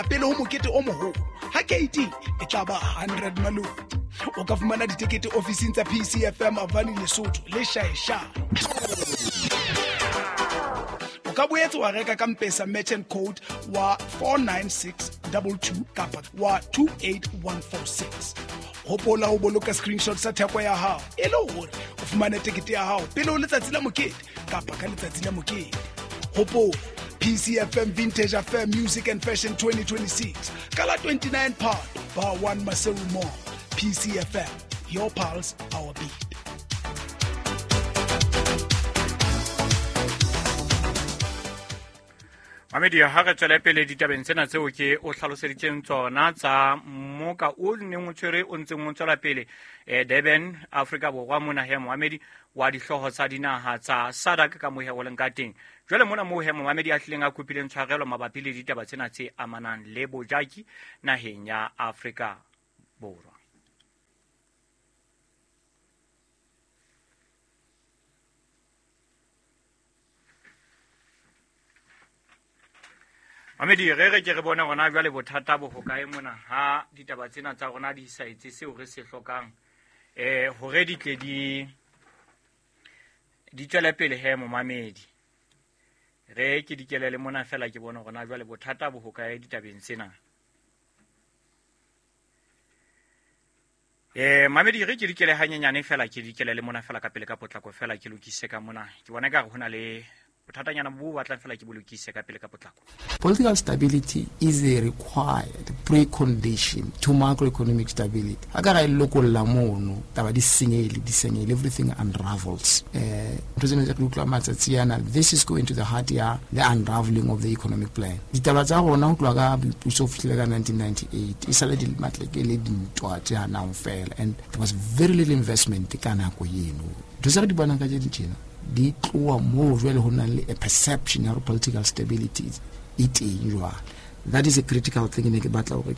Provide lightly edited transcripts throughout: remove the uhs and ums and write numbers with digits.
feela pele ho mokete o moholo. Ha keiting e tla ba 100 maloti. O ka fumana ditekete ofising tsa PCFM Avani Lesotho le Shaeshae. O ka boetse wa reka ka Mpesa merchant code wa 49622 kapa wa 28146. Hopola ho boloka screenshot sa theko ya hao e le hore o fumane tekete ya hao pele ho letsatsi la mokete kapa ka letsatsi la mokete. Hopola PCFM Vintage Affair Music and Fashion 2026 ka la 29 Phato Bar 1 Maseru Mall. PCFM, your pulse, our beat. Mamedi, ha re tswele pele ditabeng tsena tseo ke o hlaloseditseng tsona tsa mmoka o neng o tshwere o ntseng o tswela pele Durban, Afrika Borwa mona he Mohamedi wa dihlooho tsa dinaha tsa SADC ka mohe o leng ka teng. Jwale mona moo he Mohamedi a hlileng a kopileng tshwarelo mabapi le ditaba tsena tse amanang le bojaki naheng ya Afrika Borwa. Mamedi, re re ke re bone rona jwale bothata bo hokae mona ha ditaba tsena tsa rona di sa etse seo re se hlokang hore di tle di tswele pele he momamedi. Re ke dikelele mona fela ke bone rona jwale bothata bo hokae ditabeng tsena. Mamedi, re ke dikele hanyenyane fela ke dikelele mona fela ka pele ka potlako fela ke lokise ka mona. Ke bona ka re hona le bothatanyana bo batlang fela ke bolokise ka pele ka potlako. Political stability is a required precondition to macroeconomic stability. Ha ka ra lokolla mono taba di senyehile, everything unravels. Ntho tsena tse re utlwa matsatsi ana, this is going to the heart ya the unraveling of the economic plan. Ditaba tsa rona ho tloha ka boipuso ho fihlile ka 1998 e sale di matleke le dintwa tse hanang fela, and there was very little investment ka nako eno. Ntho tse re di bonang ka tjena di tloha moo jwale ho nang le a perception ya political stability e teng jwale. That is a critical thing ne ke batla hore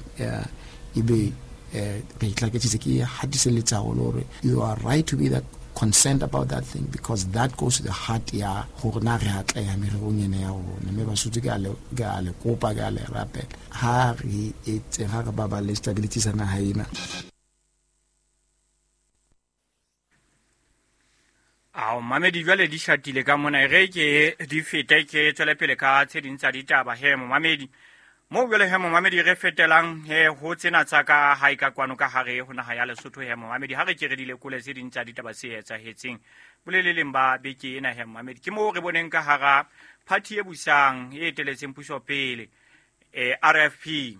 ebe re itlaketsitse ke hatiselletsa haholo hore you are right to be that concerned about that thing, because that goes to the heart ya hore na re atleha mererong ena ya rona. Mme Basotho ke a le kopa, ke a le rapela, ha re etse ha re baballe stability sa naha ena. Ao mamedi, jwale di shatile ka mona, re ke di fete ke tswele pele ka tse ding tsa ditaba he momamedi. Mo jwale he momamedi re fetelang he ho tsena tsa ka hae ka kwano ka hare ho naha ya Lesotho he momamedi. Ha re ke re di lekole tse ding tsa ditaba tse etsahetseng boleleleng ba beke ena he momamedi. Ke moo re boneng ka hara party e busang e eteletseng puso pele RFP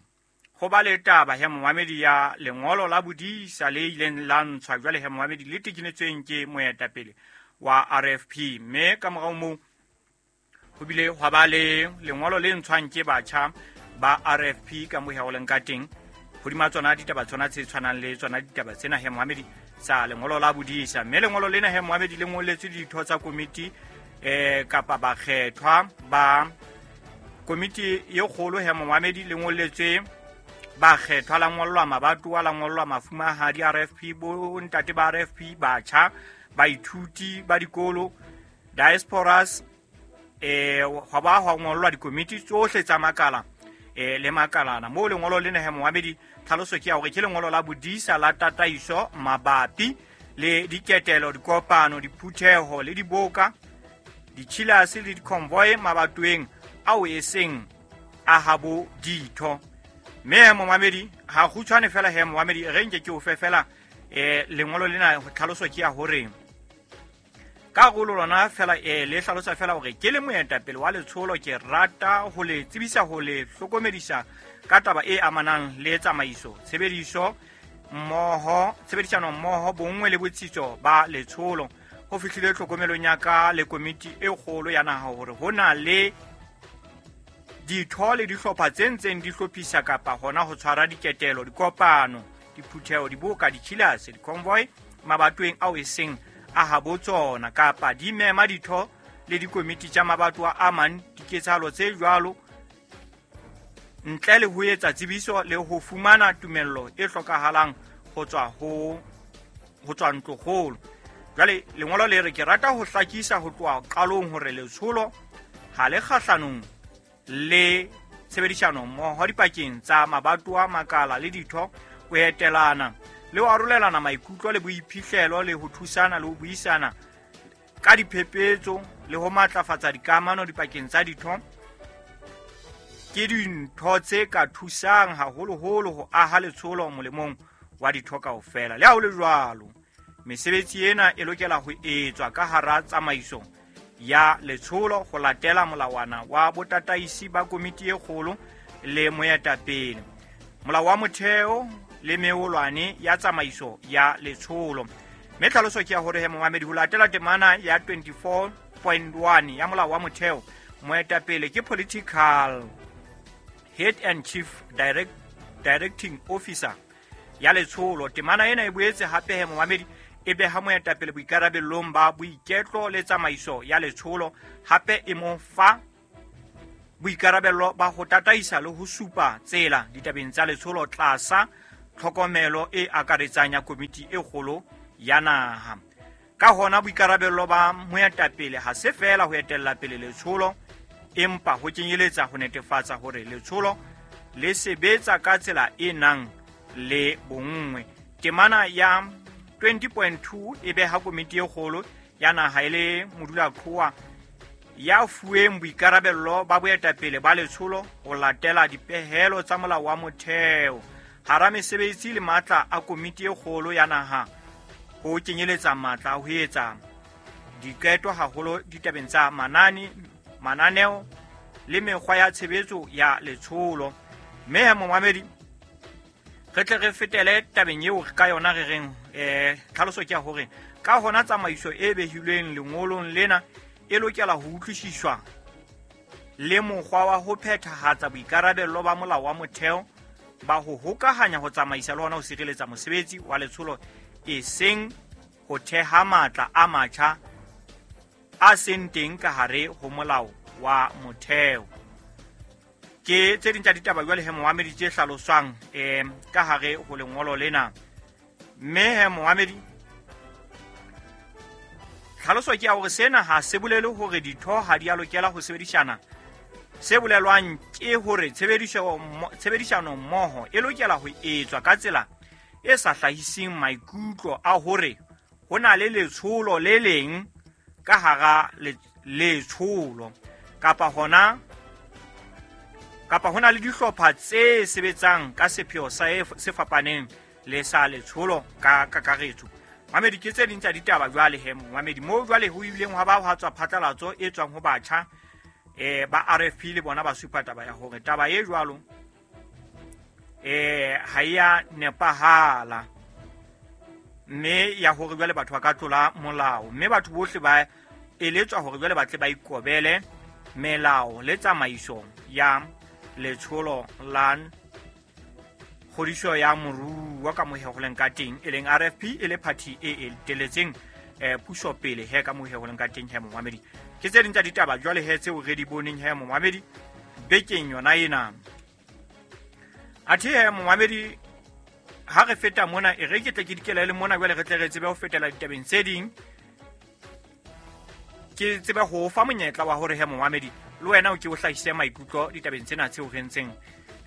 ho ba le taba he momamedi ya lengolo la bodisa le ileng la ntshwa jwale he momamedi le tekenetsweng ke moetapele wa RFP. Mme ka morao moo ho bile hwa ba le lengolo le ntshwang ke batjha ba RFP ka mohe o leng ka teng hodima tsona ditaba tsona tse tshwanang le tsona ditaba tsena he momamedi tsa lengolo la bodisa. Mme lengolo lena he momamedi le ngoletswe ditho tsa komiti kapa bakgethwa ba komiti e kgolo he momamedi, le ngoletswe bakgethwa la ngollwa mabatowa, la ngollwa mafumahadi RFP, bo ntate ba RFP, batjha, baithuti ba dikolo, diasporas, hwa ba hwa ngollwa dikomiti tsohle tsa makala le makalana. Moo lengolo lena he momamedi tlhaloso ke ya hore ke lengolo la bodisa la tataiso mabapi le diketelo, dikopano, diphutheho le diboka, ditjhilase le diconvoy mabatoweng ao e seng a habo ditho. Mme momamedi ha kgutshwane fela he momamedi re nke ke o fe fela lengolo lena tlhaloso ke ya hore karolo lona fela le hlalosa fela hore ke le moetapele wa letsholo ke rata ho le tsebisa ho le hlokomedisa ka taba e amanang le tsamaiso, tshebediso mmoho, tshebedisano mmoho, bonngwe le botsitso ba letsholo. Ho fihlile tlhokomelong ya ka le komiti e kgolo ya naha hore ho na le ditho le dihlopha tse ntseng di hlophisa kapa hona ho tshwara diketelo, dikopano, diphutheho, diboka, ditjhilase, diconvoy mabatoweng ao e seng a habo tsona, kapa di mema ditho le dikomiti tsa mabatowa a mang diketsahalo tse jwalo ntle le ho etsa tsebiso le ho fumana tumello e hlokahalang ho tswa ntlokgolo. Jwale lengolo le re ke rata ho hlakisa ho tloha qalong hore letsholo ha le kgahlanong le Tshebedisano mmoho dipakeng tsa mabatowa, makala le ditho, ho etelana le ho arolelana maikutlo le boiphihlelo le ho thusana le ho buisana ka diphephetso le ho matlafatsa dikamano dipakeng tsa ditho ke dintho tse ka thusang haholoholo ho aha letsholo molemong wa ditho kaofela. Le ha ho le jwalo, mesebetsi ena e lokela ho etswa ka hara tsamaiso ya letsholo ho latela molawana wa botataisi ba komiti e kgolo le moetapele, molao wa motheo le meolwane ya tsamaiso ya letsholo. Mme tlhaloso ke ya hore he momamedi, ho latela temana ya 24.1 ya molao wa motheo, moetapele ke political head and chief directing officer ya letsholo. Temana ena e boetse hape he momamedi e beha moetapele boikarabellong ba boiketlo le tsamaiso ya letsholo, hape e mo fa boikarabello ba ho tataisa le ho supa tsela ditabeng tsa letsholo tlasa tlhokomelo e akaretsang ya komiti e kgolo ya naha. Ka hona boikarabello ba moetapele ha se feela ho etella pele letsholo, empa ho kenyeletsa ho netefatsa hore letsholo le sebetsa ka tsela e nang le bonngwe. Temana ya 20.2 e beha komiti e kgolo ya naha e le modulaqhowa ya fuweng boikarabello ba boetapele ba letsholo ho latela dipehelo tsa molao wa motheo. Hara mesebetsi le matla a komiti e kgolo ya naha ho kenyeletsa matla a ho etsa diqeto haholo ditabeng tsa mananeo le mekgwa ya tshebetso ya letsholo. Mme momamedi, re tle re fetele tabeng eo ka yona re reng tlhaloso ke ya hore ka hona tsamaiso e behilweng lengolong lena e lokela ho utlwisiswa le mokgwa wa ho phethahatsa boikarabello ba molao wa motheo ba ho hokahanya ho tsamaisa le hona ho sireletsa mosebetsi wa letsholo, e seng ho theha matla a matjha a seng teng ka hare ho molao wa motheo. Ke tse ding tsa ditaba jwale he momamedi tse hlaloswang ka hare ho lengolo lena. Mme he momamedi, tlhaloso ke ya hore sena ha se bolele hore ditho ha di a lokela ho sebedisana. Se bolelwang ke hore tshebedisano mmoho e lokela ho etswa ka tsela e sa hlahiseng maikutlo a hore ho na le letsholo le leng ka hara letsholo kapa hona kapa hona le dihlopha tse sebetsang ka sepheo se fapaneng le sa letsholo ka kakaretso. Mamedi, ke tse ding tsa ditaba jwale he momamedi, moo jwale ho ileng hwa ba hwa tswa phatlalatso e tswang ho batjha ba RFP le bona ba supa taba ya hore taba e jwalo ha e ya nepahala, mme ya hore jwale batho ba ka tlola molao, mme batho bohle ba eletswa hore jwale ba tle ba ikobele melao le tsamaiso ya letsholo la kgodiso ya moruo ka mohe ho leng ka teng, e leng RFP e le party e eteletseng puso pele he ka mohe ho leng ka teng he momamedi. Ke tse ding tsa ditaba jwale he tseo re di boneng he momamedi bekeng yona ena. Athe he momamedi, ha re feta mona e re ke tle ke dikela le mona jwale re tle re tsebe ho fetela ditabeng tse ding. Ke tsebe ho fa monyetla wa hore he momamedi le wena o ke o hlahise maikutlo ditabeng tsena tseo re ntseng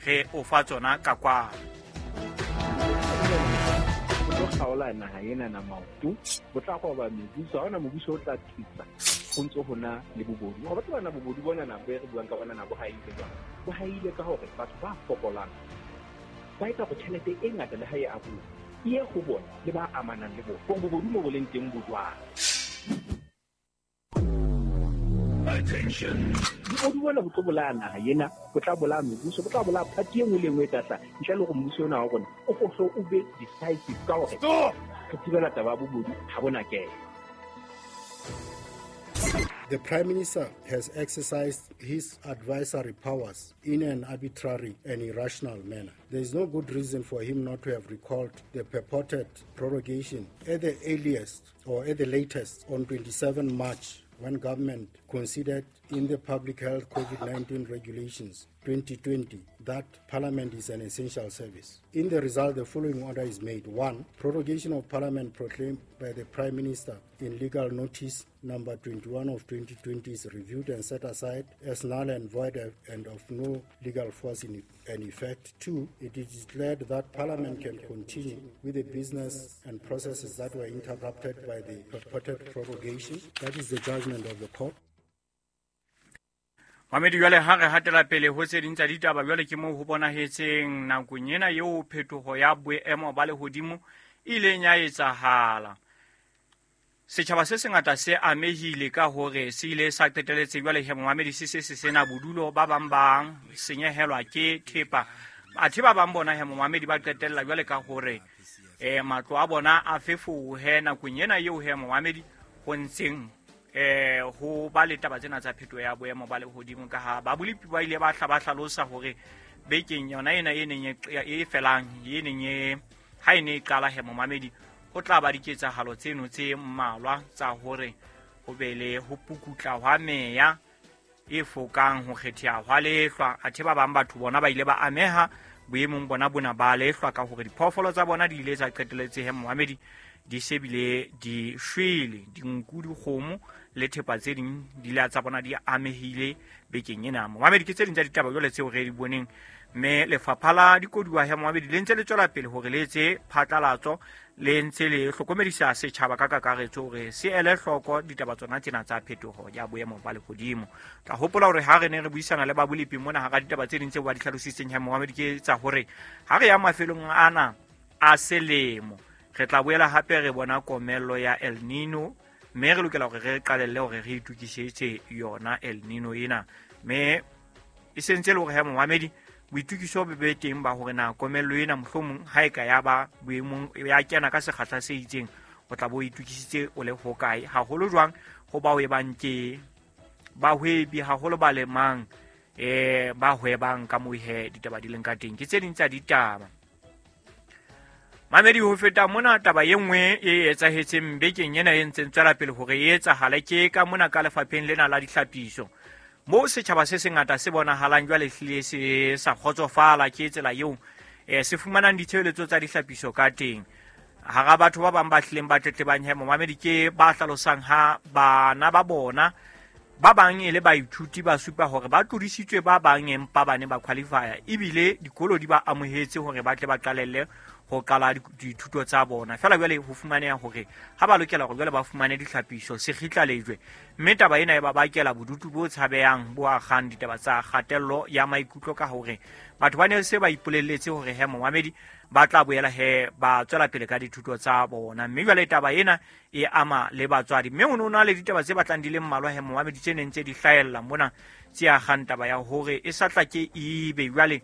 re o fa tsona ka kwa. Ho tlo kgaola naha ena na maoto, bo tla qoba mebuso, ha hona mobuso o tla thusa ho ntso hona le bobodu. Ho batho bana bobodu bona na bo re buang ka bona na bo haile jwang. Bo haile ka hore batho ba fokolang ba etsa hore tjhelete e ngata le ha e abuwa e ye ho bona le ba amanang le bona. Hore bobodu mo bo leng teng bo jwang. Attention. Bobodu bona bo tlo bolaya naha ena, bo tla bolaya mebuso, bo tla bolaya party e nngwe le e nngwe e tla hlaha. Ntle le hore mmuso ona wa rona o hlo o be decisive ka hore re thibela taba ya bobodu ha bona kena. The Prime Minister has exercised his advisory powers in an arbitrary and irrational manner. There is no good reason for him not to have recalled the purported prorogation at the earliest or at the latest on 27 March, when government could considered in the Public Health COVID-19 Regulations 2020 that Parliament is an essential service. In the result, the following order is made. 1. Prorogation of Parliament proclaimed by the Prime Minister in Legal Notice number 21 of 2020 is reviewed and set aside as null and void and of no legal force in effect. 2. It is declared that Parliament can continue with the business and processes that were interrupted by the purported prorogation. That is the judgment of the court. Mamedi jwale ha re hatela pele ho tse ding tsa ditaba jwale ke moo ho bonahetseng nakong ena eo phetoho ya boemo ba lehodimo e ileng ya etsahala. Setjhaba se sengata se amehile ka hore se ile sa qeteletse jwale he momamedi se se sena bodulo, ba bang ba senyehelwa ke thepa. Athe ba bang bona he momamedi ba qetella jwale ka hore matlo a bona a fefohe nakong ena eo he momamedi ho ntseng ho ba le taba tsena tsa phetoho ya boemo ba lehodimo, ka ha ba bolepi ba ile ba hla ba hlalosa hore bekeng yona ena e neng e felang e neng e ha e ne e qala he momamedi ho tla ba diketsahalo tseno tse mmalwa tsa hore ho be le ho pukutla hwa meya e fokang ho kgetheha hwa lehlwa. Athe ba bang batho bona ba ile ba ameha boemong bona bona ba lehlwa ka hore diphoofolo tsa bona di ile tsa qeteletse he momamedi di shebile di shwele, dinku, dikgomo le thepa tse ding di ile tsa bona di amehile bekeng ena. Momamedi ke tse ding tsa ditaba jwale tseo re di boneng, mme lefapha la dikoduwa he momamedi le ntse le tswela pele hore le etse phatlalatso, le ntse le hlokomedisa setjhaba ka kakaretso hore se ele hloko ditaba tsona tsena tsa phetoho ya boemo ba lehodimo. Tla hopola hore ha re ne re buisana le ba bolepi mona hara ditaba tse ding tseo ba di hlalositseng he momamedi ke tsa hore ha re ya mafelong ana a selemo re tla boela hape re bona komello ya El Nino, mme re lokela hore re qalelle hore re itukisetse yona El Nino ena. Mme e sentse le hore he momamedi boitukiso bo be teng ba hore na komello ena mohlomong ha e ka ya ba boemong ya kena ka sekgahla se itseng, o tla bo itukisitse o le hokae, haholo jwang ho bao e bang ke bahwebi, haholo ba lemang ba hwebang ka moo he ditaba di leng ka teng. Ke tse ding tsa ditaba. Mamedi, ho feta mona taba e nngwe e etsahetseng bekeng ena e ntseng tswela pele hore e etsahale ke ka mona ka lefapheng lena la dihlapiso, moo setjhaba se sengata se bonahalang jwale hlile se sa kgotsofala ke tsela eo se fumanang ditshebeletso tsa dihlapiso ka teng. Hara batho ba bang ba hlileng ba tletlebang he momamedi ke ba hlalosang ha bana ba bona ba bang e le baithuti ba supa hore ba tlodisitswe ba bang empa ba ne ba qualifya, ebile dikolo di ba amohetse hore ba tle ba qalelle ho qala dithuto tsa bona. Feela jwale ho fumaneha hore ha ba lokela hore jwale ba fumane ditlhapiso se kgitla lejwe, mme taba ena e ba bakela bodutu bo tshabehang bo akgang ditaba tsa kgatello ya maikutlo ka hore batho ba ne se ba ipolelletse hore he momamedi ba tla boela he ba tswela pele ka dithuto tsa bona. Mme jwale taba ena e ama le batswadi, mme ho no na le ditaba tse batlang di le mmalwa he momamedi tse neng tse di hlahella mona tse akgang taba ya hore e sa tla ke ebe jwale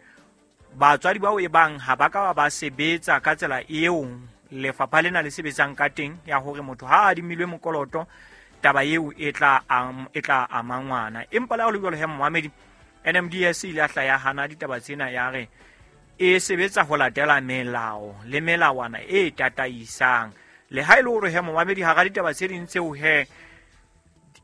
batswadi bao e bang ha ba ka ba sebetsa ka tsela eo lefapha lena le sebetsang ka teng ya hore motho ha a adimilwe mokoloto taba eo e tla ama ngwana. Empa le ha ho le jwalo he momamedi, NMDS e ile ya hla ya hana ditaba tsena ya re e sebetsa ho latela melao le melawana e tataisang. Le ha e le hore he momamedi hara ditaba tse ding tseo he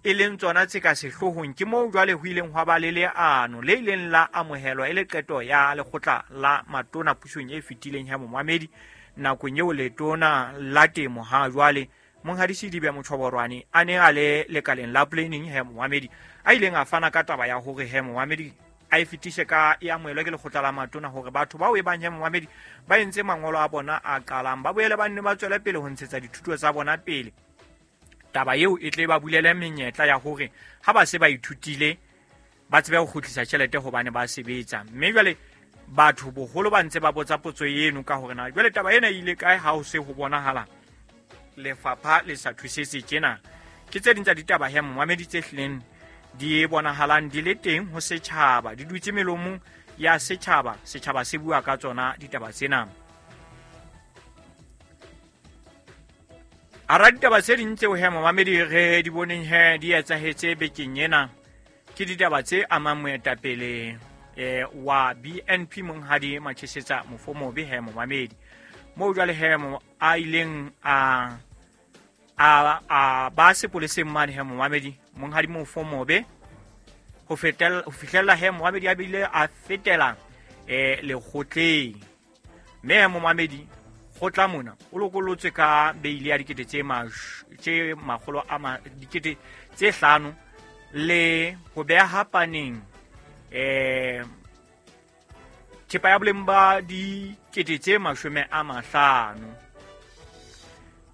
e leng tsona tse ka sehloohong ke moo jwale ho ileng hwa ba le leano le ileng la amohelwa e le qeto ya lekgotla la matona pusong e fetileng ya momamedi nakong eo letona la temo ha jwale Monghadi Sedibe Motjhoborwane a ne a le lekaleng la planning he momamedi a ileng a fana ka taba ya hore he momamedi a e fetise ka e amohelwa ke lekgotla la matona hore batho bao e bang he momamedi ba entse mangolo a bona a qalang ba boele ba nne ba tswele pele ho ntshetsa dithuto tsa bona pele. Taba eo e tle ba bulele menyetla ya hore ha ba se ba ithutile ba tsebe ho kgutlisa tjhelete hobane ba sebetsa. Mme jwale batho boholo ba ntse ba botsa potso eno ka hore na jwale taba ena e ile kae ha ho se ho bonahala lefapha le sa thusetse tjena. Ke tse ding tsa ditaba he momamedi tse hlileng di bonahalang di le teng ho setjhaba, di dutse melomong ya setjhaba, setjhaba se bua ka tsona ditaba tsena. Hara ditaba tse ding tseo he momamedi re di boneng he di etsahetse bekeng ena ke ditaba tse amang moetapele wa BNP Monghadi Machesetsa Mofomobe he momamedi, moo jwale he a ileng a ba sepoleseng mane he momamedi Monghadi Mofomobe ho fihlella he momamedi a bile a fetela lekgotleng. Mme momamedi kgotla mona o lokolotswe ka beile ya dikete tse makgolo a dikete tse 5 le ho beha paneng thepa ya boleng ba dikete tse 50.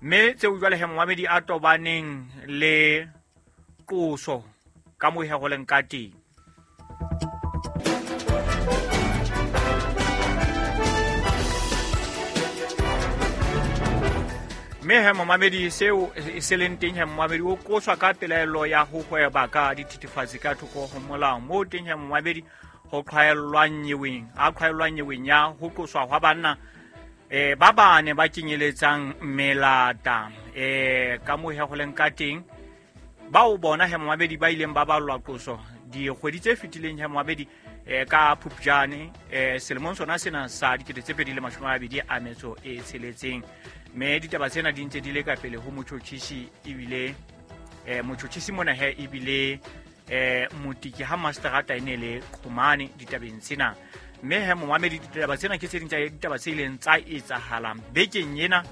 Mme tseo jwale he momamedi a tobaneng le qoso ka moo he go leng ka teng. Mme he momamedi seo se leng teng he momamedi o qoswa ka pelaelo ya ho hweba ka dithethefatsi ka thoko ho molao. Moo teng he momamedi ho qhwaellwang nyeweng ya ho qoswa hwa banna ba bane ba kenyeletsang melata ka moo he go leng ka teng. Bao bona he momamedi ba ileng ba ballwa qoso dikgwedi tse fetileng he momamedi ka Phupjane selemong sona sena sa 2026. Mme ditaba tsena di ntse di le ka pele ho motjhotjhisi ebile motjhotjhisi mona he ebile motiki ha masterata e ne le Qhomane ditabeng tsena. Mme he momamedi ditaba tsena ke tse ding tsa ditaba tse ileng tsa etsahala bekeng ena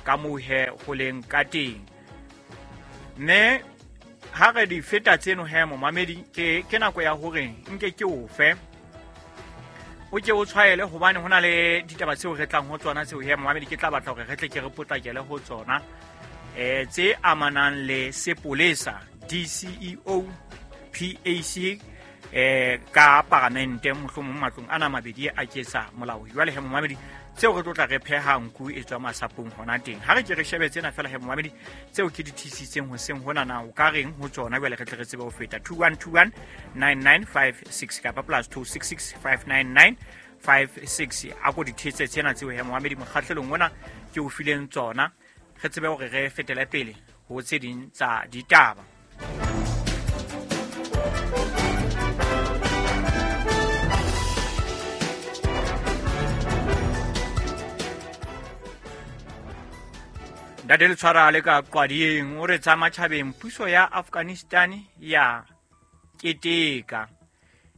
ka moo he ho leng ka teng. Mme ha re di feta tseno he momamedi ke nako ya hore nke ke ofe o ke o tshwaele hobane hona le ditaba tseo re tlang ho tsona tseo he momamedi ke tla batla hore re tle ke re potlakele ho tsona tse amanang le sepolesa DCEO PAC ka paramente mohlomong matlong ana mabedi a ketsa molao. Jwale he momamedi tseo re tlo tla re pheha nku e tswa masapong hona teng. Ha re ke re shebe tsena fela he momamedi tseo ke di thisitseng hoseng hona na o ka reng ho tsona jwale re tle re tsebe ho feta 2121 9956 kapa +266 599 56. A ko di thetse tsena tseo he momamedi mokgahlelong ona ke o fileng tsona re tsebe hore re fetele pele ho tse ding tsa ditaba. Ntate Letshwara le ka Qwading o re tsa matjhabeng puso ya Afghanistan ya keteka.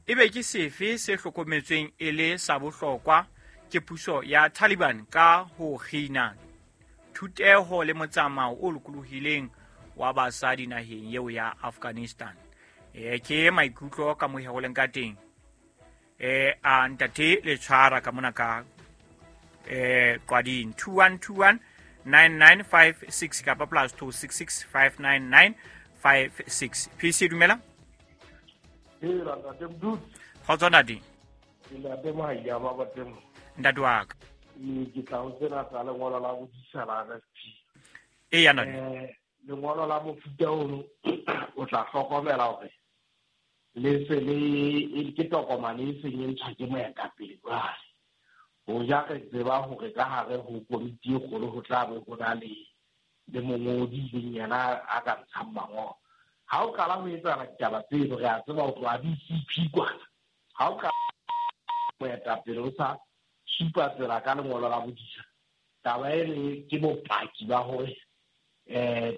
Ebe ke sefe se hlokometsweng e le sa bohlokwa ke puso ya Taliban ka ho kgina thuteho le motsamao o lokolohileng wa basadi naheng eo ya Afghanistan. Ke maikutlo ka mohe ho leng ka teng. A Ntate Letshwara ka mona ka Qwading 2121 9956 kapa +266 599 56. PC dumela. Hela ntate Mdudu. Kgotso ntate. Ntate Mohai ba bateng. Ntate wa ka. Ke tla ho tsena tsa lengolo la bodisa la RFP. Eya ntate. Lengolo la mofuta ono o tla hlokomela hore le se le ke tokomane e seng e ntshwa ke moetapele jwale. Ho ja re tseba hore ka hare ho komiti e kgolo ho tla be ho na le mongodi leng yena a ka ntshang mangolo. Ha o qala ho etsahala ditaba tseno re a tseba ho tloha DCP kwana. Ha o qala moetapele o sa supa tsela ka lengolo la bodisa, taba ene ke bopaki ba hore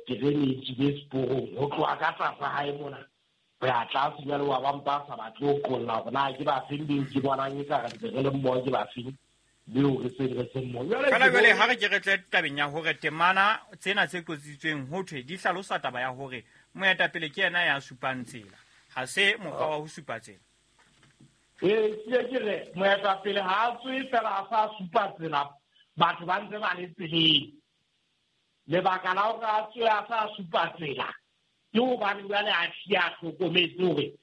terene e tswile seporong ho tloha ka tlasa hae mona ho ya tlase jwale wa ba mpa sa batle ho qolla hore na ke ba feng beo ke bonang ekare ntse re le mmoho ke ba feng beo re seng re seng mmoho. Fela jwale ha re ke re tle tabeng ya hore temana tsena tse qotsitsweng ho thwe di hlalosa taba ya hore moetapele ke yena ya supang tsela, ha se mokgwa wa ho supa tsela. Ke re moetapele ha a tswe fela a sa supa tsela, batho ba ntse ba le tseleng. Lebaka la hore a tswe a sa supa tsela ke hobane jwale a hlile a hlokometse hore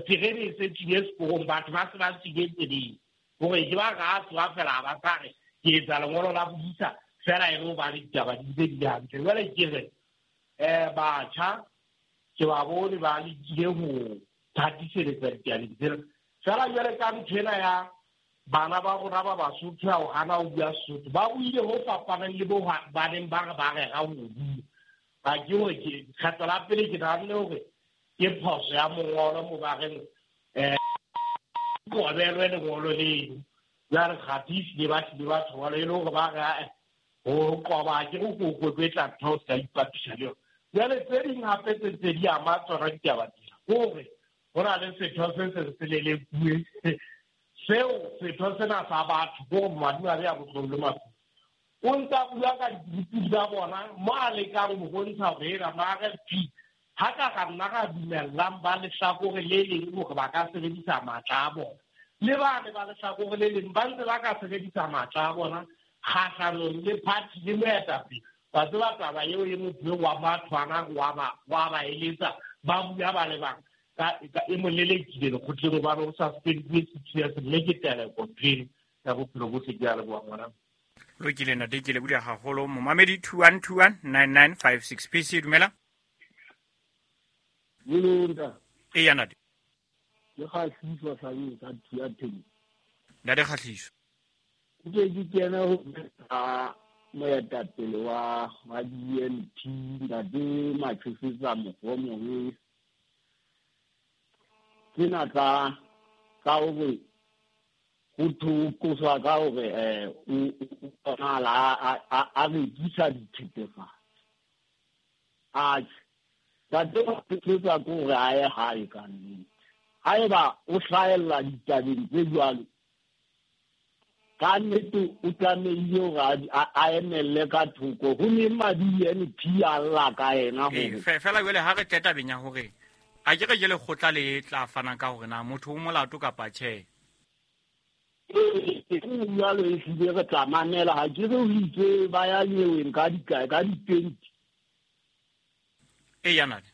terene e se tswile seporong, batho ba se ba tswile tseleng. Hore ke ba re a tsoha fela ha ba sa re ke etsa lengolo la bodisa fela e le hobane ditaba di ntse di le hantle. Jwale ke re batjha ke ba bone ba lekile ho thatiseletsa ditabeng tsena. Fela jwale ka ntho ena ya bana ba rona ba Basotho ya ho hana ho bua Sesotho, ba buile ho fapaneng le bo ba neng ba re ba rera ho bua. Ba ke hore ke kgetlo la pele ke nahanne hore ke phoso ya mongolo mo ba reng qobelwe lengolo leno. Jwale kgathi ehlile ba hlile ba thola e le hore ba re ho qoba ke ho kokwetla ntho o ska ipapisa le yona. Jwale tse ding hape tse ntse di ama tsona ditaba tsena, hore ho na le setho se seng se lelekuwe seo setho sena sa batho ko madimabe a botlong le mafu. O ntsa bua ka dikutu tsa bona mo a lekang ho bontsha hore ena ma RFP ha ka ka nna ra dumellang ba lehlakore le leng hore ba ka sebedisa matla a bona. Le bane ba lehlakore le leng ba ntse ba ka sebedisa matla a bona kgahlanong le party le moetapele. Ba tseba taba eo e motho wa mathwana wa ba eletsa ba bua ba le bang ka e mo lelekile lekgotleng hobane o suspendile 6 years mme ke teleko pele ya bophelo bohle. Ke a leboha ngwana. Lokile ntate, ke lebohile haholo. Momamedi 21219956 PC, dumela. Dumela. Eya ntate. Ke Kgahliso Hlabeng ka Thuya Teng. Ntate Kgahliso. Ke ke kena ho moetapele wa BNP ntate Matshisetsa Mogomobe. Ke na tsa hore ho qoswa ka hore o bonahala a rekisa dithethefatsi. Atjhe, ntate Matshisetsa ke hore a ye hae ka nnete. Haeba o hlahella ditabeng tse jwalo, ka nnete o tlamehile hore a emelle ka thoko. Ho neng ma-BNP a lla ka yena hore fela jwale ha re tle tabeng ya hore a ke re ke lekgotla le tla fana ka hore na motho o molato kapa tjhe. Ee, jwalo ehlile re tla mamela. Ha ke re o itse ba ya nyeweng ka di-20. Eya ntate.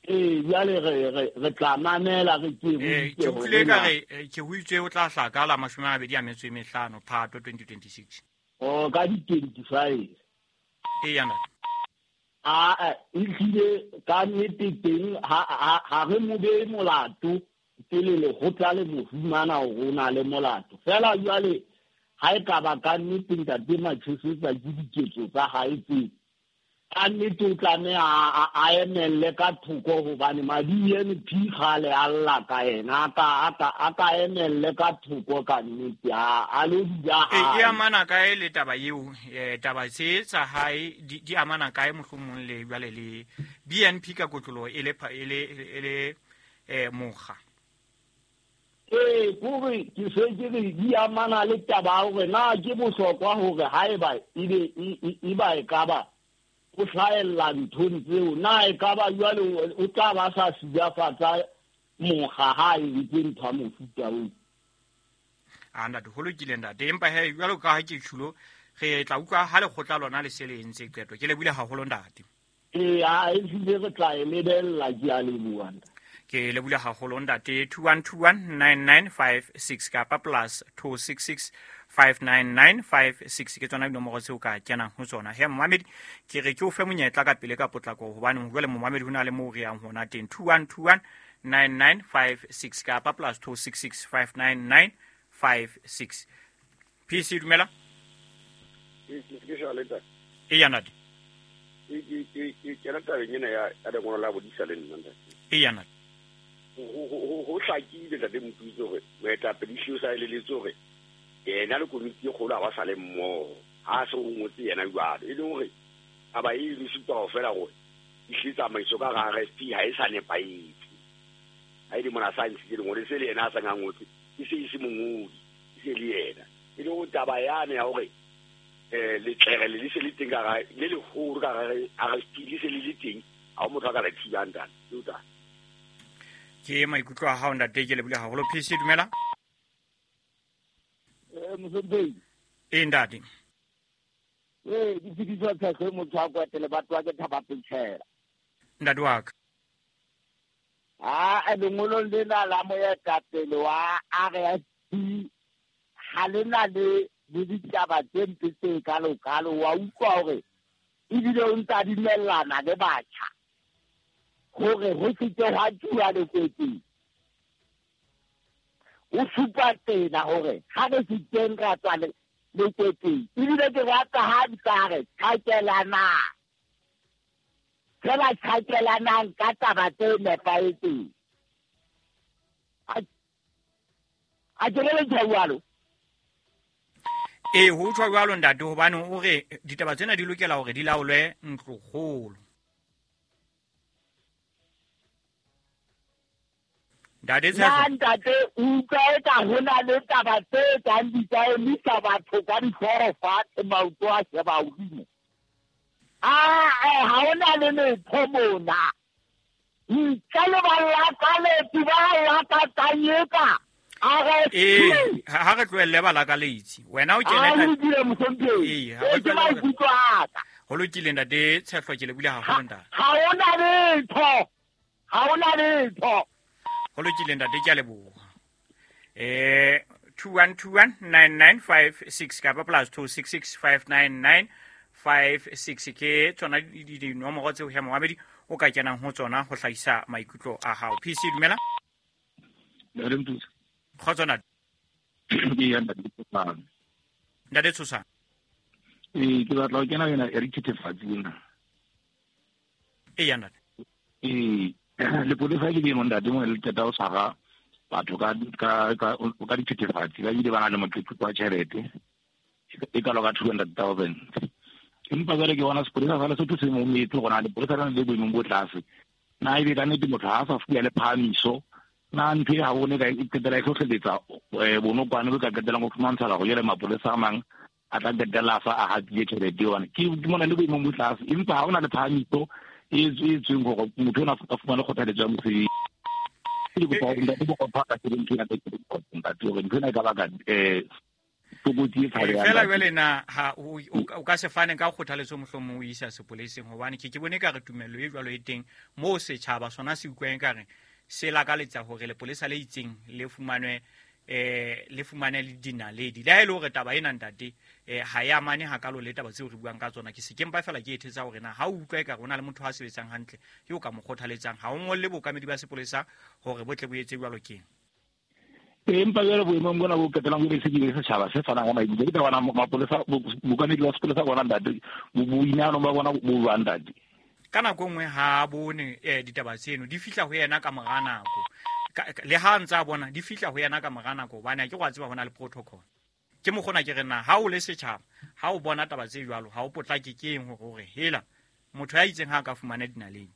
Ee, jwale re tla mamela re ke re ke utlwile ka re ke ho itse o tla hlaka la 25 Phato 2026. Oh, ka di-25. Eya ntate. A ehlile ka nnete teng ha re mo behe molato pele lekgotla le mo fumana hore o na le molato. Feela jwale ha e ka ba ka nnete ntate Matshisetsa ke diketso tsa hae tseo, ka nnete o tlameha a emelle ka thoko hobane ma-BNP kgale a lla ka yena. A ka emelle ka thoko ka nnete, a lo dula hae. E amana kae le taba eo? Taba tse tsa hae di amana kae mohlomong le jwale le BNP ka kotloloho e le mokga? Ee, kore ke se ke re di amana le taba hore na ke bohlokwa hore haeba ebe e ka ba o hlahella nthong tseo, na e ka ba jwale o tla ba sa silafatsa mokga ha e entse ntho ya mofuta oo. A ntate, ho lokile ntate. Empa he jwalo ka ha ke tjhulo, re tla utlwa ha lekgotla lona le se le entse qeto. Ke lebohile haholo ntate. Ee, ehlile re tla e lebella. Ke a leboha ntate. Ke lebohile haholo ntate. 21219956 kapa plus 266 59956 ke tsona dinomoro tseo ka kenang ho tsona. He momamedi, ke re ke o fe monyetla ka pele ka potlako hobane jwale momamedi ho na le moo re yang hona teng. 21219956 kapa plus 266 59956. PC, dumela. Eya ntate. Ke kena tabeng ena ya lengolo la bodisa le nna ntate. Eya ntate. Ho hlakile ntate Motutsi hore moetapele ehlile o sa eleletse hore yena le komiti e kgolo ha ba sa le mmoho. Ha se o ngotse yena jwalo, e leng hore taba eno e supa kaofela hore ehlile tsamaiso ka hara RFP ha e sa nepahetse. Ha e le mona sa ntshitse lengolo, e se le yena a sang a ngotse, e se e se mongodi, e se le yena. E leng hore taba yane ya hore letlere le se le teng ka hara le leholo ka hara RFP le se le le teng, ha ho motho a ka le thibang ntate. Ke maikutlo a hao ntate, ke lebohile haholo. PC, dumela. Mosomphehi. Ee ntate. Ee, ke fediswa tshehlo motho a kwetele batho ba ke thaba petjhela. Ntate wa ka. A lengolong lena la moetapele wa RFP ha le na le ditaba tse mpe tse kalo-kalo. Wa utlwa hore ebile o ntsa dumellana le batjha hore ho se ke hwa tsuwa lekwetseng. O supa tsela hore ha re se teng ra tswa lekwetseng. Ebile ke rata ha ntsa re tjhakelanang. Fela tjhakelanang ka taba tse nepahetseng. A ke le jwalo. Ee, ho tjho jwalo ntate, hobane o re ditaba tsena di lokela hore di laolwe ntlokgolo. Ntate Na ntate o utlwa eka ho na le taba tse kang di ka emisa batho ka dihlooho fatshe, maoto a sheba hodimo. Ha hona le letho mona. Ntle le ba lakaletsi ba lakatsang eka RFP. Ee, ha re tlohelle ba lakaletsi. Wena o kene A lokile mohlomphehi. Ee, ha re Ke tlohelle ba- maikutlo a ka. Ho lokile ntate Tshehlo, ke lebohile haholo ntate. Ha hona letho. Ha hona letho. Ho lokile ntate, ke a leboha. 21219956 kapa plus 26659956 ke tsona dinomoro tseo he momamedi o ka kenang ho tsona ho hlahisa maikutlo a hao. PC dumela. Ntate Mtutsi. Kgotso ntate. Ee, ntate Tshosang. Ntate Tshosang. Ee, ke batla ho kena yona ya dithethefatsi ena. Ee, ya ntate. Ee, lepolesa ke leno ntate mo le qeta ho tshwara batho ka dithethefatsi, ba bile ba na le moqeqeko wa tjhelete e kalo ka 200,000. Empa jwale ke bona sepolesa sa Lesotho se mometse hore na lepolesa lena le boemong bo tlase. Na ebe ka nnete motho ha a sa fuwa le phahamiso, na ntho e ha bone ka e qetela e hlohleletsa bonokwane bo ka qetellang ho fumantshala hore jwale mapolesa a mang a tla qetella a sa a hatile tjhelete eo. Hobane ke mona le boemong bo tlase, empa ha hona le phahamiso e tsweng hore motho ona a fumane kgothaletso ya mosebetsi. Ke kopa hore ntate Bokopha a ka sebedisa ntho ena ntate, hore ntho ena e ka baka tlokotsi e tshabehang. Fela jwale na ha o ka se fane ka kgothaletso mohlomong o isa sepoleseng, hobane ke bone ekare tumello e jwalo e teng moo setjhaba sona se utlwang ekare se lakaletsa hore lepolesa le itseng le fumanwe, le fumane le dinaledi. Le ha e le hore taba ena ntate, ha e amane hakalo le taba tseo re buang ka tsona, ke se ke mpa fela ke e thetsa hore na ha o utlwa ekare ho na le motho a sebetsang hantle eo ka mo kgothaletsang, ha o ngolle bookamedi ba sepolesa hore bo tle bo etse jwalo keng. Ee, empa jwale boemong bona bo qetellang bo se ke setjhaba se fanang ka maikutlo, ke taba mapolesa, bookamedi ba sepolesa bona ntate, boinehelo ba bona bo jwang ntate? Ka nako e nngwe ha a bone ditaba tseno di fihla ho yena ka mora nako. Le ha a ntse a bona di fihla ho yena ka mora nako, hobane ha ke go a tseba ho na le protocol. Ke mokgona ke re na ha o le setjhaba, ha o bona taba tse jwalo, ha o potlake ke eng hore o re hela motho ya itseng ha a ka fumana dinaledi.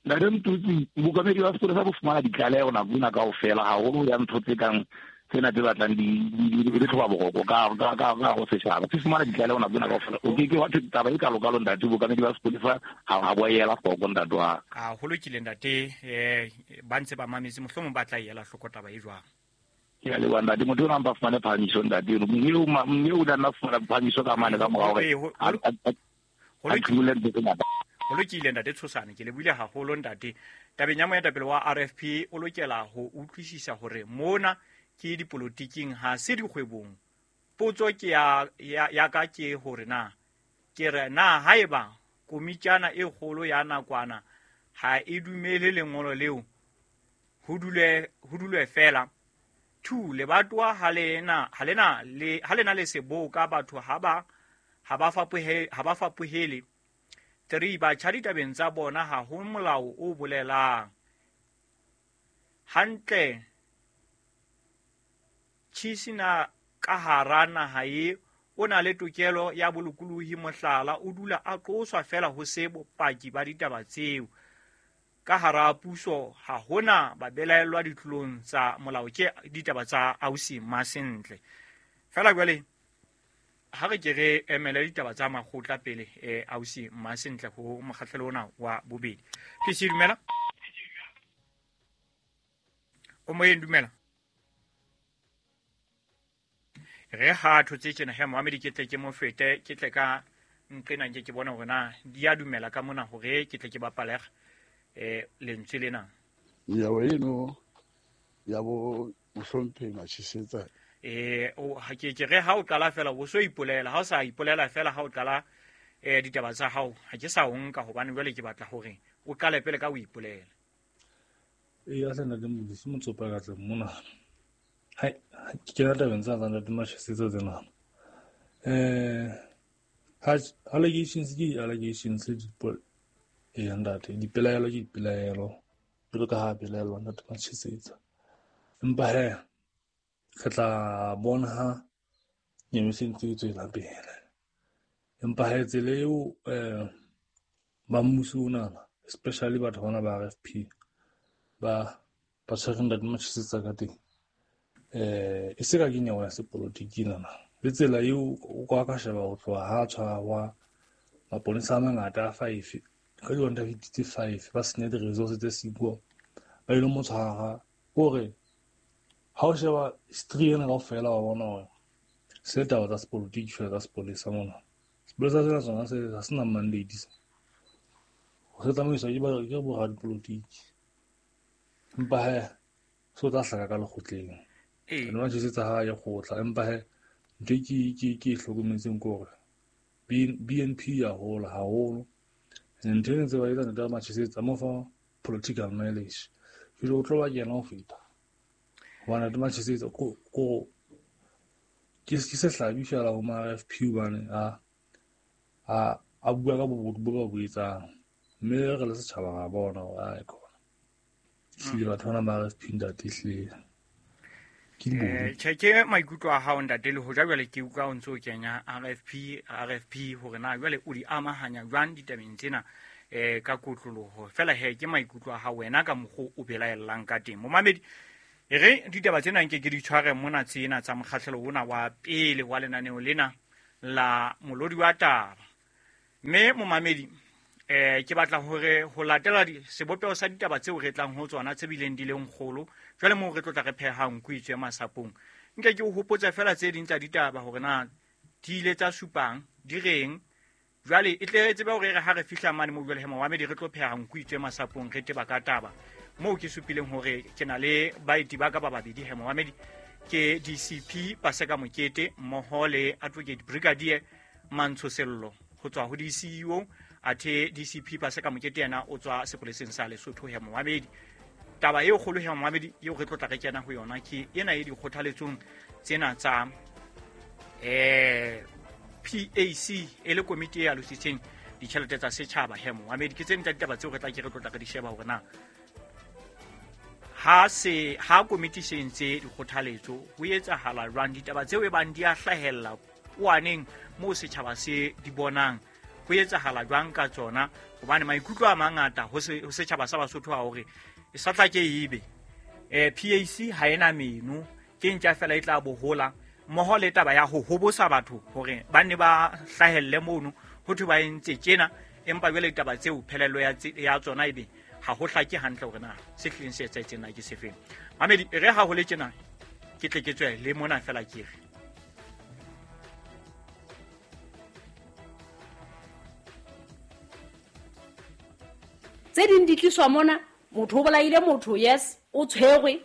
Ntate Mtutsi, bookamedi ba sepolesa bo fumana ditlaleho nako ena kaofela, haholo ya ntho tse kang tsena tse batlang di le tlhoba boroko ka ho setjhaba. Se fumana ditlaleho nako ena kaofela. O ke ke wa thwe taba e kalokalo ntate, bookamedi ba sepolesa ha bo a ela hloko ntate wa ka. A ho lokile ntate, ba ntse ba mametse, mohlomong ba tla e ela hloko taba e jwang. Ke a leboha ntate, motho ona mpa fumane phahamiso ntate eno. Mme eo o tla nna fumana phahamiso ka mane ka mora hore Ee, a phumule ntho tse ngata. Ho lokile ntate Tshosane, ke lebohile haholo ntate. Tabeng ya moetapele wa RFP o lokela ho utlwisisa hore mona ke dipolotiking ha se dikgwebong. Potso ke ya ka ke hore na ke re na haeba komitjana e kgolo ya nakwana ha e dumele lengolo leo, ho dulwe fela. 2, lebatowa ha lena, ha lena le, ha lena le seboka, batho ha ba, ha ba fapohe, ha ba fapohele. 3, batjha ditabeng tsa bona ha ho molao o bolelang. Hantle Chisina ka hara naha e o na le tokelo ya bolokolohi, mohlala o dula a qoswa fela ho se bopaki ba ditaba tseo. Ka hara puso ha hona ba belaellwa ditlolong tsa molao, ke ditaba tsa ausi Masentle. Fela jwale ha re ke re emele ditaba tsa makgotla pele, ausi Masentle ho mokgahlelo ona wa bobedi. PC dumela. O moyeng dumela. Re ha thotse tjena he Mohamedi, ke tle ke mo fete, ke tle ka nqena nke ke bona hore na di a dumela ka mona hore ke tle ke bapalega lentswe lena. Nyewe eno ya bo mohlomphehi Matshisetsa. O, ha ke, ke re ha o qala fela o so ipolela, ha o sa ipolela fela ha o qala ditaba tsa hao, ha ke sa o nka hobane jwale ke batla hore o qale pele ka o ipolela. Ee, a hle ntate Modise, motsopa ka tle mona. Hai, ke kena tabeng tsa ntate Matshisetsa tsena. Ha allegations ke allegations le ee, ntate, dipelaelo ke dipelaelo, jwalo ka ha belaelwa ntate Matshisetsa. Empa he, re tla bona ha nyewe se ntse e tswela pele. Empa he, tsela eo, ba mmuso onana, especially batho bana ba RFP, ba ba tshwereng Ntate Machesetsa ka teng. E se ka ke nyewe ya sepolotiki nana. Le tsela eo o ka sheba ho tloha ha tshwarwa maponesa a mangata a 5 ka di-155 ba senya di-resource tse siko ba ile mo tshwara kore ha o sheba history ena kaofela wa bona hore se taba tsa sepolotiki fela tsa sepolesa mona. Sepolesa sena sona se ha se na mandate se. Se tsamaiswa ke boradipolotiki. Empa he se o tla hlaka ka lekgotleng. Ene Machesetsa ha ye kgotla empa he ntho ke e hlokometseng ke hore BNP ya hola haholo. And ntho e ntse ba etsa Ntate Machesetsa mo fa political mileage. Jwale o tlo ba kena ho feta. Hobane Ntate Machesetsa ko ke sehlabi fela ho ma RFP hobane a bua ka bobodu bo ba bo etsang. Mme re le setjhaba ra bona hore ae khona. Ehlile batho bana ba RFP ntate ehlile. Tjhe ke maikutlo a hao ntate le hoja jwale ke utlwa o ntse o kenya RFP hore na jwale o di amahanya jwang ditabeng tsena ka kotloloho. Fela he ke maikutlo a hao wena ka mokgo o belaellang ka teng. Momamedi e re ditaba tsena nke ke di tshware mona tsena tsa mokgahlelo ona wa pele wa lenaneo lena la molodi wa taba. Mme momamedi ke batla hore ho latela sebopeho sa ditaba tseo re tlang ho tsona tse bileng di leng kgolo jwale moo re tlotla re phehang nku itswe masapong. Nke ke o hopotse fela tse ding tsa ditaba hore na di ile tsa supang di reng. Jwale e tle re tsebe hore re ha re fihla mane moo jwale he momamedi re tlo pheha nku itswe masapong re teba ka taba moo ke supileng hore ke na le baeti ba ka ba babedi he momamedi ke DCP Paseka Mokete mmoho le Advocate Brigadier Mantsho Sello ho tswa ho DCEO. Athe DCP Paseka Mokete yena o tswa sepoleseng sa Lesotho he momamedi. Taba eo kgolo he momamedi eo re tlotla re kena ho yona ke ena e dikgothaletsong tsena tsa PAC e le komiti e alositseng ditjhelete tsa setjhaba he momamedi. Ke tsena tsa ditaba tseo re tla ke re tlotla re di sheba hore na ha komiti se entse dikgothaletso ho etsahala jwang, ditaba tseo e bang di a hlahella kwaneng moo setjhaba se di bonang ho etsahala jwang ka tsona, hobane maikutlo a mangata ho setjhaba sa Basotho a hore e sa tla ke ebe PAC ha ena meno ke ntja fela e tla bohola mmoho le taba ya ho hobosa batho hore ba nne ba hlahelle mono ho thwe ba entse tjena, empa jwale ditaba tseo phelelo ya tsona ebe ha ho hlake hantle hore na se hlileng se etsahetseng na ke sefeng. Mamedi re ha ho le tjena ke tle ke tswe le mona fela ke re tse ding di tliswa mona motho o bolaile motho yes o tshwerwe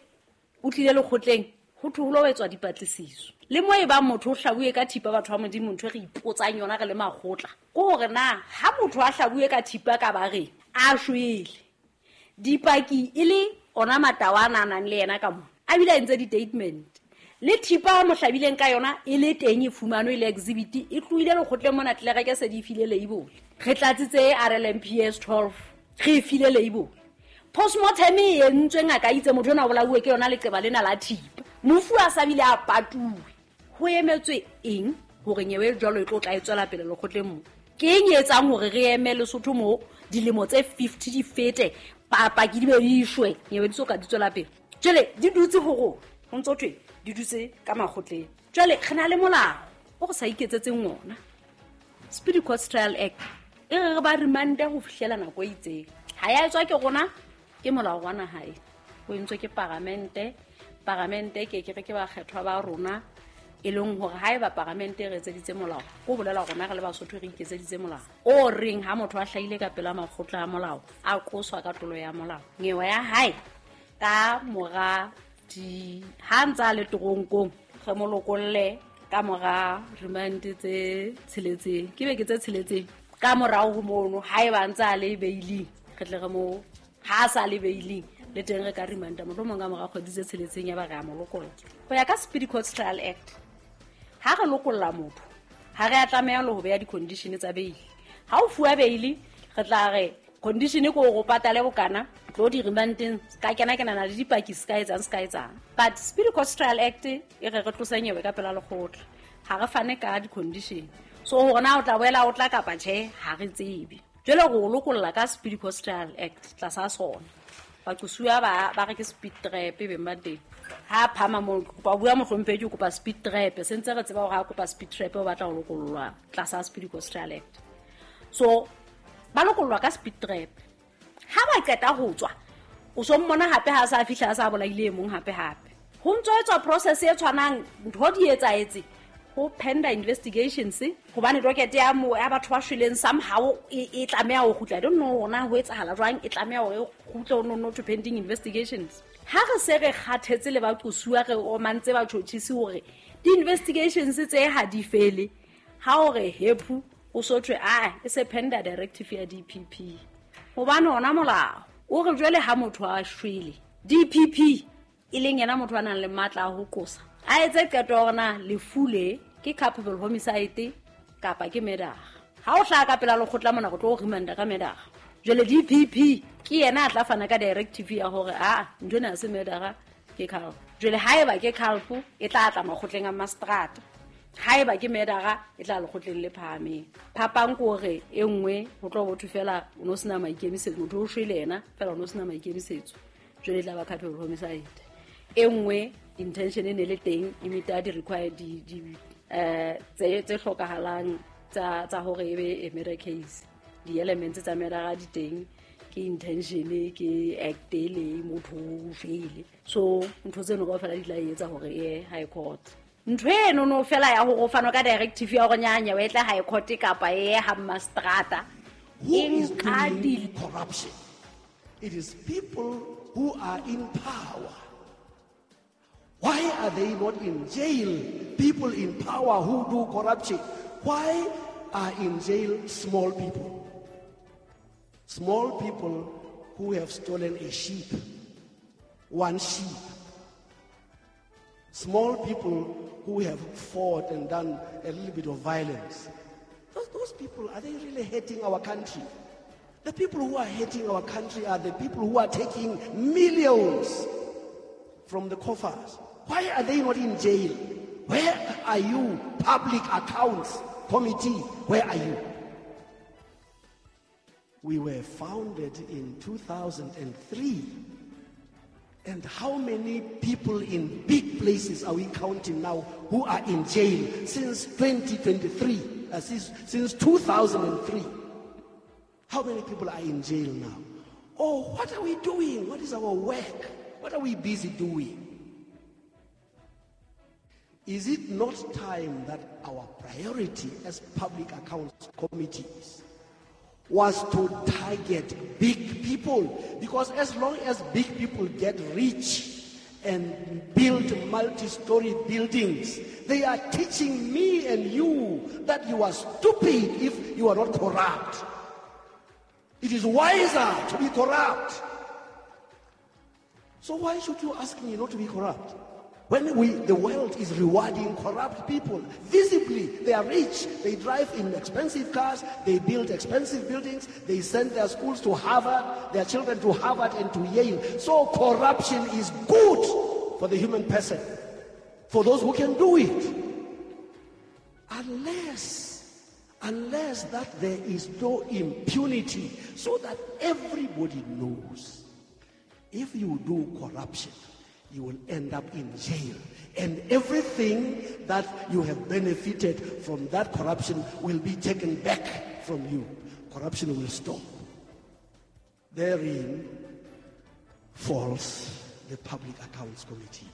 o tlile lekgotleng ho thwe ho lo etswa dipatlisiso le mo e bang motho o hlabuwe ka thipa. Batho ba Modimo ntho e re ipotsang yona re le makgotla ke hore na ha motho a hlabuwe ka thipa ka bareng a shwele dipaki e le ona matawana a nang le yena ka mona a bile a entse di-statement le thipa a mo hlabileng ka yona e le teng e fumanwe e le exhibit e tlohile lekgotleng mona tlelereke se di file label re tlatsitse RLMPS 12 re file label postmortem e entswe ngaka itse motho ona o bolauwe ke yona leqeba lena la thipa mofu a sa bile a patuwe. Ho emetswe eng hore nyewe jwalo e tlo tla e tswela pele lekgotleng mo? Ke eng e etsang hore re eme Lesotho mo dilemo tse 50 di fete paki di be di shwe nyewe di so ka di tswela pele? Jwale di dutse ho rona ho ntso thwe di dutse ka makgotleng. Jwale re na le molao o re sa iketsetseng ona Speedy Court Trial Act e re ba remande ho fihlela nako e itseng. Ha ya etswa ke rona ke molao wa naha e o entswe ke paramente. Paramente ke ke re ke bakgethwa ba rona e leng hore haeba paramente e re etseditse molao ko bolela rona re le Basotho re iketseditse molao o reng ha motho a hlahile ka pela makgotla a molao a qoswa ka tlolo ya molao nyewe ya hae ka mora di ha ntsa le toronkong re mo lokolle ka mora remand tse tsheletseng ke beke tse tsheletseng ka morao ho mono haeba ntsa le bailing re tle re mo ha sa le bailing le teng re ka remanda mohlomong ka mora kgwedi tse tsheletseng ya ba re a mo lokolla. Ho ya ka Speedy Court Trial Act ha re lokolla motho ha re a tlameha le ho beha di-condition tsa bail. Ha o fuwa bail re tla re condition ke hore o patale bokana tlo di remandeng ka kena kena le dipaki se ka etsang se ka etsang. But Speedy Court Trial Act e re re tlose nyewe ka pela lekgotla ha re fane ka di-condition. So hore na o tla boela o tla kapa tjhe ha re tsebe. Jwale re o lokolla ka Speedy Court Trial Act tlasa sona. Baqosuwa ba re ke speed trap beng ba teng. Ha phama mo kopa bua mohlomphehi ke kopa speed trap, se ntse re tseba hore ha kopa speed trap o batla ho lokollwa tlasa Speed Cost Act. So ba lokollwa ka speed trap. Ha ba qeta ho tswa, o so mmona hape ha sa fihla a sa bolaile e mong hape hape. Ho ntso etswa process e tshwanang, ntho di etsahetse ho penda investigations hobane docket ya mo ya batho ba shweleng somehow e tlameha ho kgutla. I don't know hona ho etsahala jwang, e tlameha hore e kgutle ho no to pending investigations. Ha re se re kgathetse le baqosuwa re omantse batjhotjhisi hore di-investigations tse ha di fele, ha hore hepu o so thwe a e se penda directive ya DPP. Hobane hona molao o re jwale ha motho a shwele, DPP e leng yena motho a nang le matla a ho qosa, a etse qeto ya hore na lefu le ke culpable homicide kapa ke murder. Ha o hlaha ka pela lekgotla mona go tlo remanda ka murder. Jwale DPP ke yena a tla fana ka directive ya hore a ntho ena ha se murder ke culp. Jwale haeba ke culp e tla tla makgotleng a magistrate, haeba ke murder e tla lekgotleng le phahameng. Phapang ke hore e nngwe ho tlo botho fela o no sena maikemisetso, motho o shwele yena fela o no sena maikemisetso, jwale e tla ba culpable homicide. E nngwe intention e ne le teng e meeta di required di tse hlokahalang tsa hore e be a murder case. Di-elements tsa murder di teng, ke intention, ke act le motho o shwele. So ntho tseno kaofela di tla etsa hore e high court. Ntho eno no fela ya hore o fanwe ka directive ya hore nyanya o etle high court kapa e ha magistrata. Who is doing corruption? It is people who are in power. Why are they not in jail? People in power who do corruption. Why are in jail small people? Small people who have stolen a sheep, one sheep. Small people who have fought and done a little bit of violence. Those people, are they really hating our country? The people who are hating our country are the people who are taking millions from the coffers. Why are they not in jail? Where are you, Public Accounts Committee? Where are you? We were founded in 2003. And how many people in big places are we counting now who are in jail since 2023, since 2003? How many people are in jail now? Oh, what are we doing? What is our work? What are we busy doing? Is it not time that our priority as public accounts committees was to target big people? Because as long as big people get rich and build multi-story buildings, they are teaching me and you that you are stupid if you are not corrupt. It is wiser to be corrupt. So why should you ask me not to be corrupt? When the world is rewarding corrupt people, visibly, they are rich, they drive in expensive cars, they build expensive buildings, they send their schools to Harvard, their children to Harvard and to Yale. So corruption is good for the human person, for those who can do it. Unless that there is no impunity, so that everybody knows if you do corruption, you will end up in jail. And everything that you have benefited from that corruption will be taken back from you. Corruption will stop. Therein falls the Public Accounts Committee.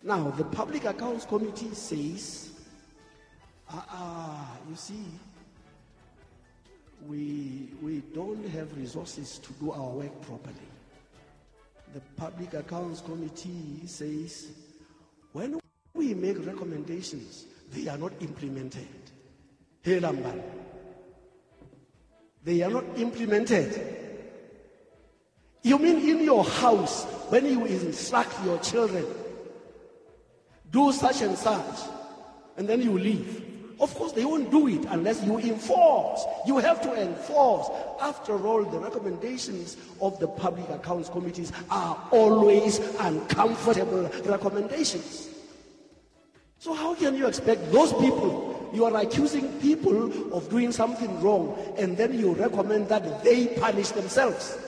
Now, the Public Accounts Committee says, you see, we don't have resources to do our work properly. The Public Accounts Committee says, when we make recommendations, they are not implemented. They are not implemented. You mean in your house, when you instruct your children, do such and such, and then you leave. Of course, they won't do it unless you enforce. You have to enforce. After all, the recommendations of the Public Accounts Committees are always uncomfortable recommendations. So how can you expect those people? You are accusing people of doing something wrong, and then you recommend that they punish themselves.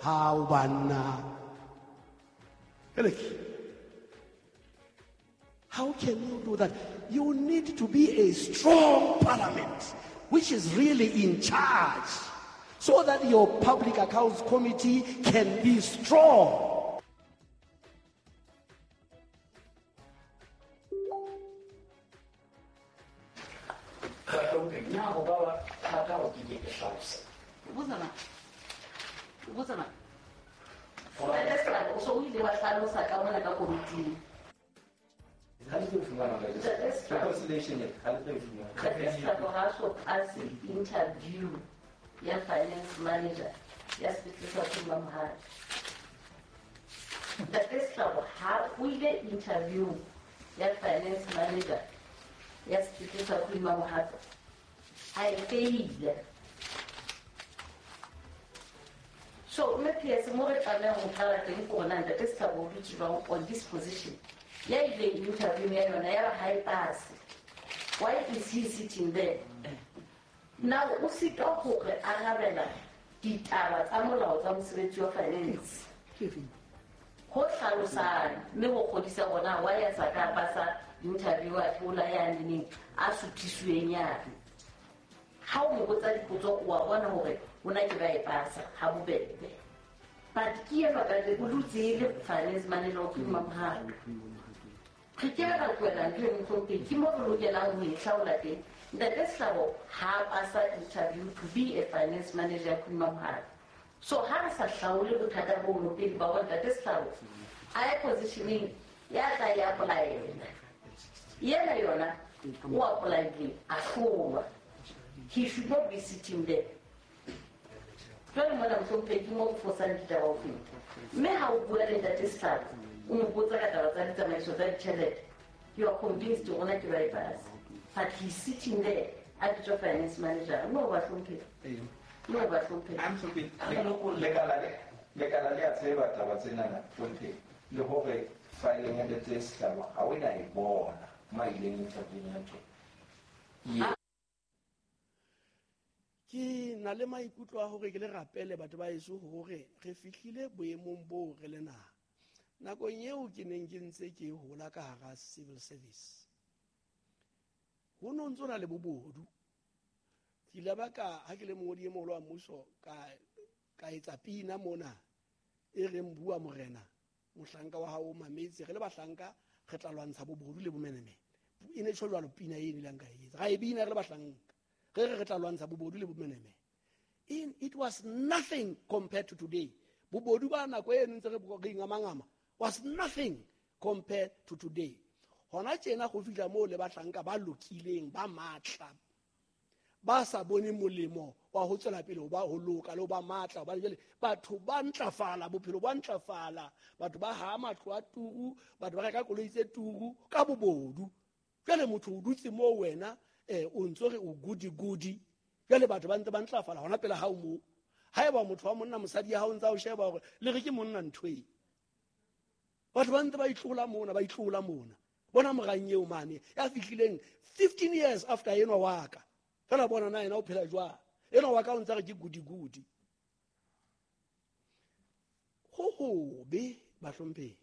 Hao banna. How can you do that? You need to be a strong parliament, which is really in charge, so that your public accounts committee can be strong. Interview ya finance manager ya sepetlele sa Khuma Mohato. Ntate Sehlabo ha o ile interview ya finance manager ya sepetlele sa Khuma Mohato, a e faile. So mme PS mo re tlamehang ho qala teng ke hore Ntate Sehlabo o dutse jwang on this position. Ya ile interview ya yona ya ba ha e pase. Why is he sitting there? Now o sitwa hore arabela ditaba tsa molao tsa mosebetsi wa finance. Ho hlalosang mme ho kgodisa hore why a sa ka pasa interview a thola ya neng a suthisuweng yane. Ha o mo botsa dipotso o a bona hore o na ke ba e pasa ha bobebe. But ke enwa ka le o dutse le finance manager o Khuma Mohato. Re ke ra tlohela ntho e mohlomphehi, ke mo re lokelang ho e hlaola teng. Ntate Sehlabo ha pasa interview to be a finance manager Khuma Mohato. So ha re sa hlaole bothata bono pele ba hore Ntate Sehlabo a ye positioning ya tla ya apply-ela. Yena yona o apply-ile a hlolwa. He should not be sitting there. Jwale mona mohlomphehi ke mo o fosang ditaba ho feta. Mme ha o bua le Ntate Sehlabo o mo botsa ka taba tsa ditsamaiso tsa ditjhelete, you are convinced hore ke ba e pasa. But he's sitting there a bitswa finance manager. No ba hlomphehi. No ba hlomphehi. I'm sorry. Lekala le a tseba taba tsenana hlomphehi. Le hore fileng ya Ntate Sehlabo ha o na e bona ma ileng interview ya teng. Ke na le maikutlo a hore ke le rapele batho ba heso hore re fihlile boemong boo re le naha. Nakong eo ke neng ke ntse ke hola ka hara civil service, ho no ntso na le bobodu. Ke ile ba ka ha ke le mongodi e moholo wa mmuso ka etsa pina mona e reng bua morena mohlanka wa hao o mametse, re le bahlanka re tla lwantsha bobodu le bomenemene. E ne tjho jwalo pina e nileng ka etsa. Ra e bina re le bahlanka. Re tla lwantsha bobodu le bomenemene. It was nothing compared to today. Bobodu ba nako e ntse re ingamangama was nothing compared to today. Hona tjena go fihla moo le bahlanka ba lokileng ba matla ba sa bone molemo wa ho tswela pele ho ba ho loka le ho ba matla, hobane jwale batho ba ntlafala, bophelo ba ntlafala, batho ba ha matlo a turu, batho ba reka koloi tse turu ka bobodu. Jwale motho o dutse moo wena o ntso re o goody goody. Jwale batho ba ntse ba ntlafala hona pele ha o moo. Haeba motho wa monna mosadi ya hao ntsa o sheba hore le re ke monna ntho e. Batho ba ntse ba itlola mona, ba itlola mona. Bona morang eo mane ya fihlileng 15 years after enwa wa ka. Fela bona na yena o phela jwang. Enwa wa ka o ntse re ke goody goody. Ho hobe bahlomphehi.